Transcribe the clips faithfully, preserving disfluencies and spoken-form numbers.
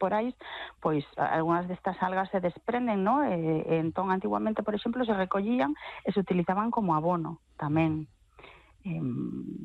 esporais, pois algunhas destas algas se desprenden, ¿no? E, e entón, antiguamente, por exemplo, se recollían e se utilizaban como abono tamén. Eh,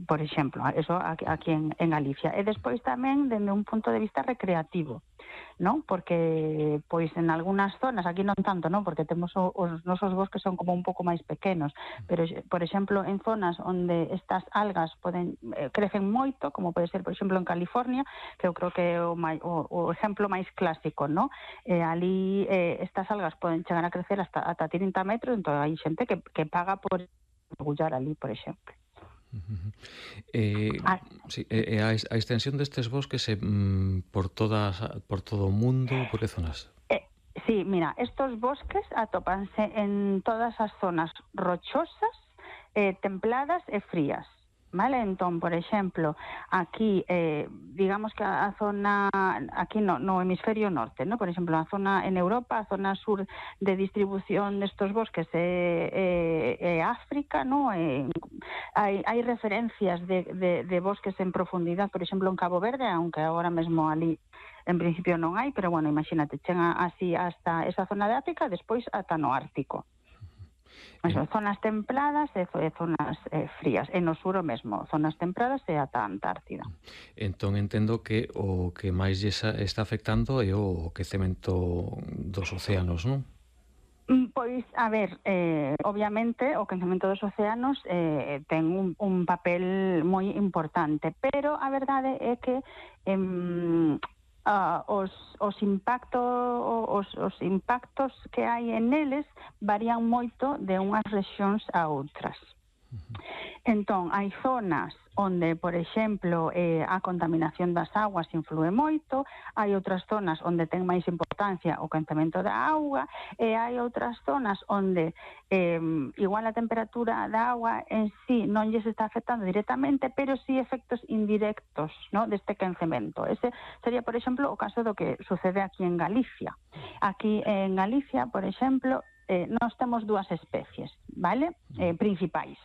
por exemplo, eso aquí, aquí en, en Galicia. E despois tamén dende un punto de vista recreativo, ¿no? Porque pois en algunhas zonas, aquí non tanto, ¿no? Porque temos o, os nosos bosques son como un pouco máis pequenos, pero por exemplo en zonas onde estas algas poden eh, crecen moito, como pode ser por exemplo en California, que eu creo que é o, mai, o, o exemplo máis clásico, ¿no? Eh, ali eh, estas algas poden chegar a crecer hasta, hasta trinta metros, entón hai xente que, que paga por mergullar ali, por exemplo. Eh, ah. sí, eh, a, a extensión destes bosques é eh, por todas por todo o mundo, por que zonas? Eh, sí, mira, estos bosques atópanse en todas as zonas rochosas, eh, templadas e frías. Vale, entón, por exemplo, aquí, eh, digamos que a, a zona, aquí no, no hemisferio norte, ¿no? Por exemplo, a zona en Europa, a zona sur de distribución destos bosques é, é, é África, ¿no? Eh, hai, hai referencias de, de, de bosques en profundidade, por exemplo, en Cabo Verde, aunque agora mesmo ali en principio non hai, pero bueno, imagínate, chega así hasta esa zona de África, despois ata no Ártico. Eso, en... zonas templadas e zonas eh, frías, e no sur o mesmo, zonas templadas e ata a Antártida. Entón entendo que o que máis está afectando é o quecemento dos océanos, non? Pois, a ver, eh, obviamente o quecemento dos océanos eh, ten un, un papel moi importante, pero a verdade é que eh, Uh, os, os, impacto, os, os impactos que hai en eles varían moito de unhas rexións a outras. Entón, hai zonas onde, por exemplo, eh, a contaminación das aguas influe moito, hai outras zonas onde ten máis importancia o quecemento da auga, e hai outras zonas onde eh, igual a temperatura da auga en sí non lles está afectando directamente, pero sí efectos indirectos, ¿no?, deste quecemento. Ese sería, por exemplo, o caso do que sucede aquí en Galicia. Aquí en Galicia, por exemplo, eh, nós temos dúas especies, vale? Eh, principais,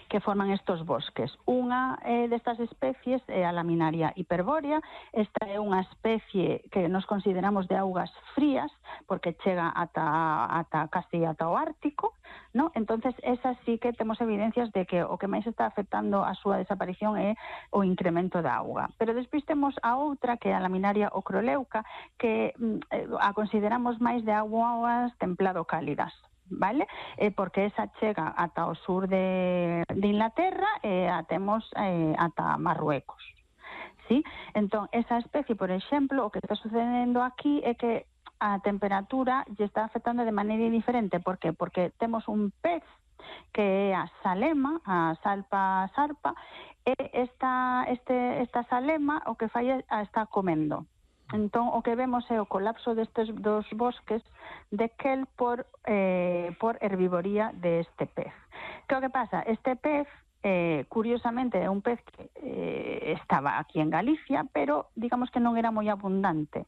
que forman estos bosques. Unha eh, destas especies é a laminaria hiperbórea. Esta é unha especie que nos consideramos de augas frías, porque chega ata, ata casi ata o Ártico, ¿no? Entonces, esa sí que temos evidencias de que o que máis está afectando a súa desaparición é o incremento da auga. Pero despois temos a outra, que é a laminaria ocroleuca, que eh, a consideramos máis de augas templado-cálidas, vale? Eh, porque esa chega ata o sur de, de Inglaterra e a temos eh, ata Marruecos, ¿sí? Entón, esa especie, por exemplo, o que está sucedendo aquí é que a temperatura lle está afectando de maneira diferente. Por que? Porque temos un pez que é a salema, a salpa sarpa, e esta, este, esta salema o que fai é a está comendo. Entón, o que vemos é o colapso destes dos bosques de Kelp por, eh, por herbivoría deste pez. Que o que pasa? Este pez, eh, curiosamente, é un pez que eh, estaba aquí en Galicia, pero digamos que non era moi abundante.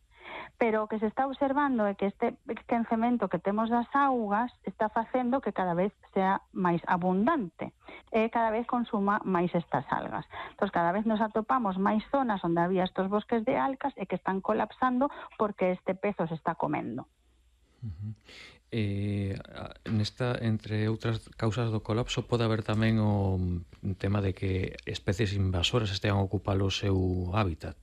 Pero o que se está observando é que este quecemento que temos das augas está facendo que cada vez sea máis abundante e cada vez consuma máis estas algas. Entón, cada vez nos atopamos máis zonas onde había estos bosques de algas e que están colapsando porque este pez os está comendo. Uh-huh. Eh, nesta, entre outras causas do colapso, pode haber tamén o tema de que especies invasoras estean a ocupar o seu hábitat.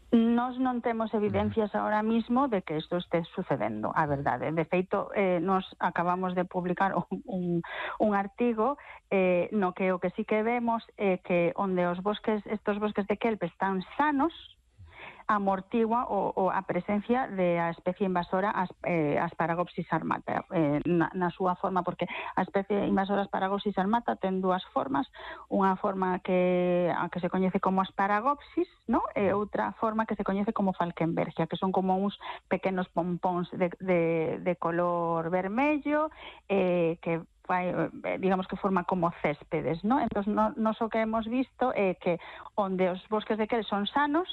Nós non temos evidencias ahora mismo de que isto este sucedendo, a verdade. De feito, eh, nos acabamos de publicar un, un artigo eh, no que o que sí que vemos é eh, que onde os bosques, estos bosques de kelp están sanos, amortigua o, o a presencia de a especie invasora as, eh, Asparagopsis armata eh, na, na súa forma, porque a especie invasora Asparagopsis armata ten dúas formas, unha forma que a que se coñece como Asparagopsis, ¿no? E outra forma que se coñece como Falkenbergia, que son como uns pequenos pompóns de, de, de color vermello eh, que fai, digamos que forma como céspedes, ¿no? Entón, no, nos o que hemos visto é que onde os bosques de kelp son sanos,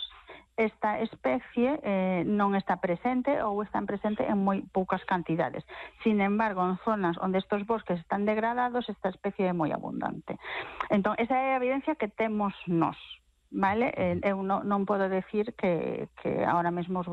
esta especie eh, non está presente ou están presente en moi poucas cantidades. Sin embargo, en zonas onde estos bosques están degradados, esta especie é moi abundante. Entón, esa é a evidencia que temos nós, vale? Eh, eu non, non podo decir que, que ahora mesmo os